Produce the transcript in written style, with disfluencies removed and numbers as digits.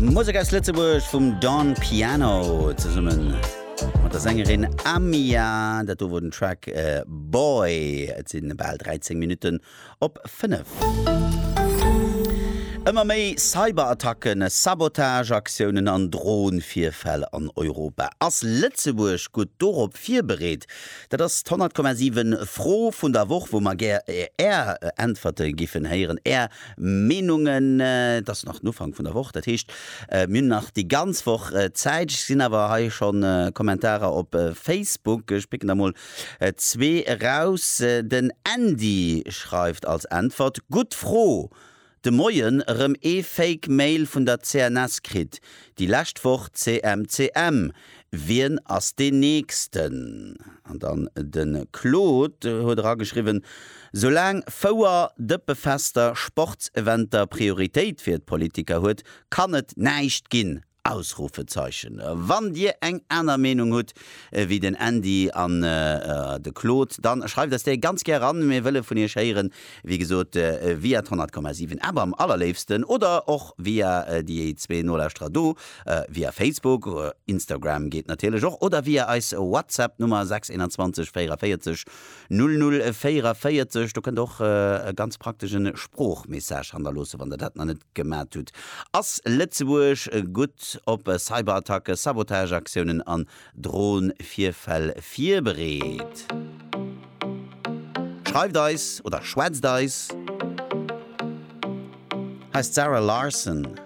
Musek aus Lëtzebuerg vum Don Piano zesumme mat der Sängerin Amia. Dat do wor den Track Boy. Et si bal 13 Minutten op 5. Ëmmer méi Cyberattacken, Sabotageaktiounen an Dronevirfäll an Europa. Ass Lëtzebuerg gutt dorop virbereet? Dat ass d'100,7 Fro vun der Woch, wou mer gär Är Äntwerte giffen héieren, Är Meenungen. Et ass nach den Ufank vun der Woch, dat heescht, mir hunn nach déi ganz Woch Zäit. Ech gesinn awer hei scho Kommentarer op Facebook. Ech picken der mol zwee eraus. Den Andy schreift als Äntwert, Gutt Fro! De Moien erëm ee Fake Mail vun der CNS kritt, déi lescht Woch CMCM. Wien ass deen nächsten? An dann de Claude huet erageschriwwen, Soulaang Fouer, Dëppefester, Sportseventer Prioritéit fir d'Politiker huet, kann et näischt ginn! Ausrufezeichen. Wann dir eng aner Meenung hutt wéi den Andy an de Claude, dann schreift eis déi ganz gär an. Mir wëlle vun iech héieren, wéi gesot via d'100,7 App am allerléifsten oder och via déi zwee Nolauschterer do, via Facebook, Instagram geet natierlech och, oder via eis WhatsApp Nummer 621 44 00 44. Do kënnt der och e ganz praktesch e Sproochmessage hannerloossen, wann der dat nach net gemat hutt. Ass Lëtzebuerg gutt op Cyberattacke, Sabotageaktiounen an Dronevirfäll virbereet? Schreift eis oder schwätzt eis. Hei ass d'Zara Larsson.